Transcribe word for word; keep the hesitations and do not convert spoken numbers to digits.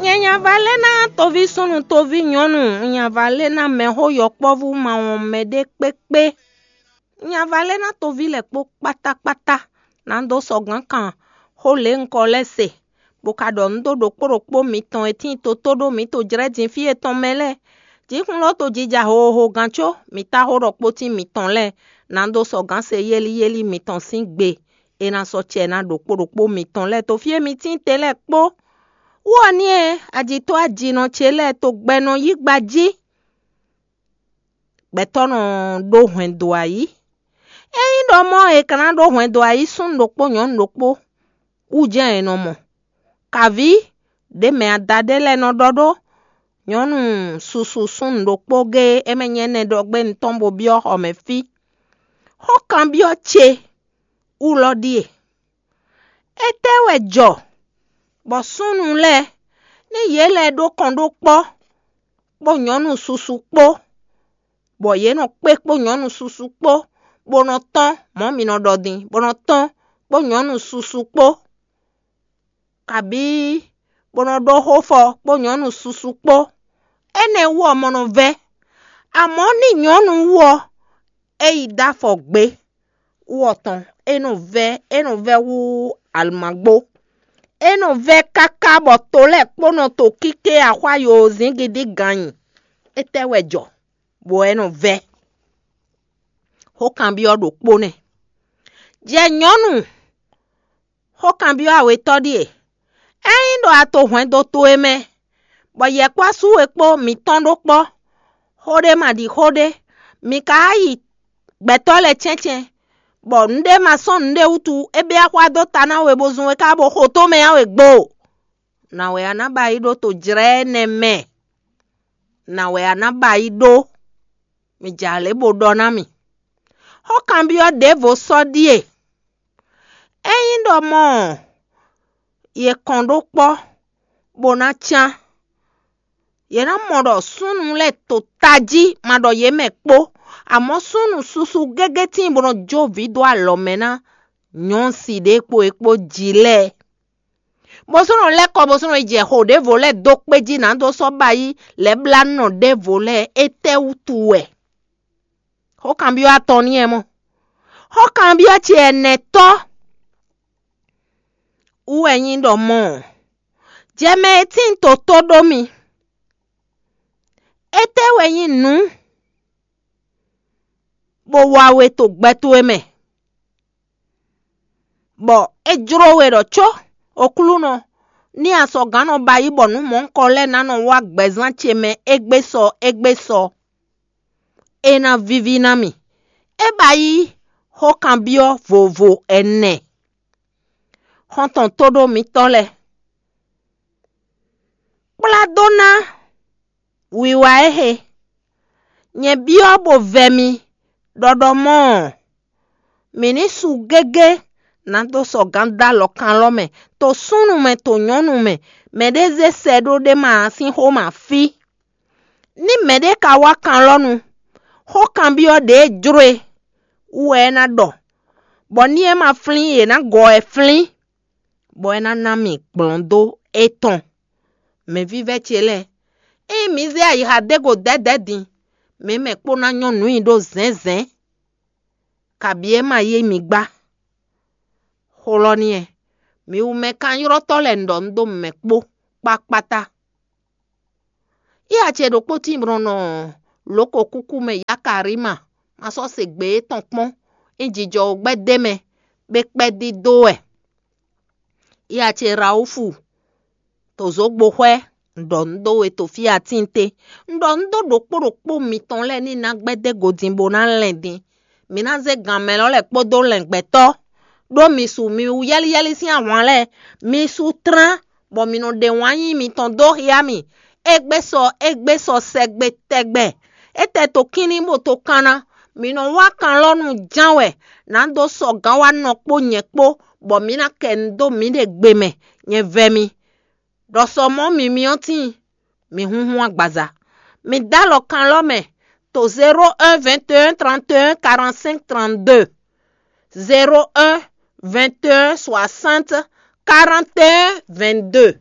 Nyɛ nya va lɛ́ ná toví súnnu toví nyɔ̌nu, nya va lɛ́ ná mɛxó yɔkpɔ́vú ma wɔn mɛɖé kpékpé. Nya va lɛ́ ná toví lɛ́ kpó kpátákpátá, ná dó sɔgǎn kan xó lě un kɔ lɛ́ se, bó ka ɖɔ nǔ dó ɖokpó ɖokpó mitɔn e tíin toto ɖó mǐ to jlɛ́ din fí e tɔn mɛ lɛ́ɛ. Jǐxwlɔ́ to jija hoho gán có mǐ tá xó ɖɔ kpótín mitɔn lɛ́ɛ, ná dó sɔgǎn se yéli yéli mitɔn sín gbe e ná sɔ́ cɛ ná ɖokpó ɖokpó mitɔn lɛ́ɛ to fí e mi tíin te lɛ́ɛ kpó. Wú ɔ́ n'i e ajitɔ́ ajinɔ ce lɛ́ɛ to gbɛ nɔ yí gba jí. Gbɛtɔ́ nɔ ɖó hwɛndo ayǐ. Ényí ɖɔ mɔ̌ è ka ná ɖó hwɛndo ayǐ súnnu ɖokpó nyɔ̌nu ɖokpó wú jɛ́n è nɔ mɔ. Kavǐ ɖě mɛ adaɖé lɛ́ɛ nɔ ɖɔ ɖó nyɔ̌nu susu súnnu ɖokpó géé, é mɛ nyɛ nɛ́ ɖɔ gbé nutɔn bó byɔ́ xɔ mɛ fí. Xó kanbyɔ́ ce wú lɔ ɖíe: étɛ́ wɛ jɔ bɔ súnnu lɛ́ɛ, ní yě lɛ́ɛ ɖó kɔn ɖó kpɔ́, kpó nyɔ̌nu susu kpó, bɔ yě nɔ kpé kpó nyɔ̌nu susu kpó, bó nɔ tɔ́n mɔ̌ mi nɔ ɖɔ din, bó nɔ tɔ́n kpó nyɔ̌nu susu kpó, kabǐ bó nɔ ɖó xófɔ kpó nyɔ̌nu susu kpó. Énɛ́ wú ɔ́, mɔ nɔ vɛ́. Amɔ̌ ní nyɔ̌nu wú ɔ́, é yi dó afɔ gbé wú ɔ́ tɔn, é nɔ vɛ́, é nɔ vɛ́ hú alɔmagbó. É nɔ vɛ́ káká bɔ to lɛ́ɛ kpó nɔ to kíké axwá yozǐngídí gan nyi. Étɛ́ wɛ jɔ, bɔ é nɔ vɛ́? Xó kanbyɔ́ ɖokpó nɛ́. Jɛ nyɔ̌nu, xó kanbyɔ́ awetɔ́ ɖíe: ényí ɖɔ a to hwɛndo towe mɛ, bɔ yɛkpɔ́ asú we kpó mǐtɔn ɖó kpɔ́, xó ɖé ma ɖi xó ɖé, mǐ ka yi gbɛtɔ́ lɛ́ɛ cɛ́ncɛ́n, bɔ nǔɖé ma sɔ́ nǔɖé wútu é bɛ́ axwá dó ta ná we bó zun we ká bó xo tó mɛ ǎ we gbo. Nǎ wɛ a nǎ ba yi ɖó to jlɛ́ énɛ́ mɛ? Nǎ wɛ a nǎ ba yi ɖó? Mi jɛ alě bó ɖɔ ná mì. Xó kanbyɔ́ ɖěvo sɔ́ ɖíe: ényí ɖɔ mɔ̌ ɔ́, yě kɔn ɖó kpɔ́, bó ná cán. Yě ná mɔ ɖɔ súnnu lɛ́ɛ to tají ma ɖɔ yě mɛ kpó, amɔ̌ súnnu susu gégé tíin bó nɔ jó vǐ dó alɔ mɛ ná nyɔ̌si ɖě kpo e kpó jí lɛ́ɛ. Bó sɔ́ nɔ lɛ́ kɔ bó sɔ́ nɔ yi jɛ xo ɖěvo lɛ́ɛ dó kpé jí ná dó sɔ́ ba yí lɛ̌blánɔ ɖěvo lɛ́ɛ, étɛ́ wútu wɛ? Xó kanbyɔ́ atɔn n'i wɛ mɔ. Xó kanbyɔ́ ce ɛnɛtɔ́ wú wɛ nyí ɖɔ mɔ̌ ɔ́, jɛ mɛ e tíin toto ɖó mi. Étɛ́ wɛ nyí nǔ bó wa we to gbɛ towe mɛ, bɔ é jló we ɖɔ có, Oklúnɔ, ní asɔgǎn nɔ ba yí bɔ nǔ mɔ̌hunkɔ lɛ́ɛ ná nɔ wá gbɛzán ce mɛ égbé sɔ égbé sɔ. É ná víví ná mì. É ba yí xó kanbyɔ́ vovo ɛnɛ. Xɔ́ntɔn tóɖó mitɔ́ lɛ́ɛ, kplá dó ná wiwa éhe. Nyɛ byɔ́ bó vɛ mi ɖɔ ɖɔ mɔ̌ ɔ́, mǐ ní su gégé ná dó sɔgǎn dó alɔ kan lɔ mɛ, to súnnu mɛ, to nyɔ̌nu mɛ, mɛɖé zé sɛ ɖó ɖé ma ǎ sín xó ma fí. Ní mɛɖé ka wá kan lɔ nu, xó kanbyɔ́ ɖě e jló e wú wɛ é ná ɖɔ, bɔ ní é ma flín yě ná gɔ wɛ flín, bɔ é ná ná mì gblɔ̌n dó étɔn. Mɛ̌vívɛ́ ce lɛ́ɛ, ényí mǐ zé ayixa dó go dɛ̌dɛ̌ din, mǐ mɛ kpó ná nyɔ́ nǔ nyi ɖó zɛ̌nzɛ̌n, kabǐ é ma yí mǐ gbá. Xó lɔ n'i wɛ, mi wú mɛ kanylɔ́tɔ́ lɛ́ɛ un ɖɔ un ɖó mɛ kpó kpákpátá. Iya ce ɖokpó tíin bó nɔ nɔ lǒkokúkú mɛ Yakarima, ma sɔ́ se gbe étɔn kpɔ́n, é jijɔ wǒ gbɛ́ d'é mɛ, bó kpɛ́ dídó wɛ. Iya ce Rawúfu, to zǒgboxwɛ, un ɖɔ nǔ dó we to fí atín té. Un ɖɔ nǔ dó ɖokpó ɖokpó mitɔn lɛ́ɛ ní ná gbɛ́ dó go din bó ná lɛn din. Mi ná zé gan mɛ lɔ lɛ́ɛ kpódó lɛ̌ngbɛ́tɔ́, ɖó mi su mi wú yɛ́líyɛ́lí sín ahwan lɛ́ɛ. Mi su tlán, bɔ mi nɔ ɖe wǎn yíyí mitɔn dó xyá mì. Égbé sɔ, égbé sɔ sɛgbe tɛgbɛ. Étɛ́ to kínní bó to kanna. Mi nɔ wá kan lɔ nú ján wɛ, nǎ dó sɔgǎn wá nɔ kpó nyɛ kpó, bɔ mǐ ná kɛ nu dó mǐɖée gbe mɛ. Nyɛ vɛ mi. Ɖɔ sɔ mɔ̌ mi myɔ tíin, mi húnhún agbaza. Mi dó alɔ kan lɔ mɛ to zéro un vingt et un trente et un quarante-cinq trente-deux, zéro un vingt et un soixante quarante et un vingt-deux.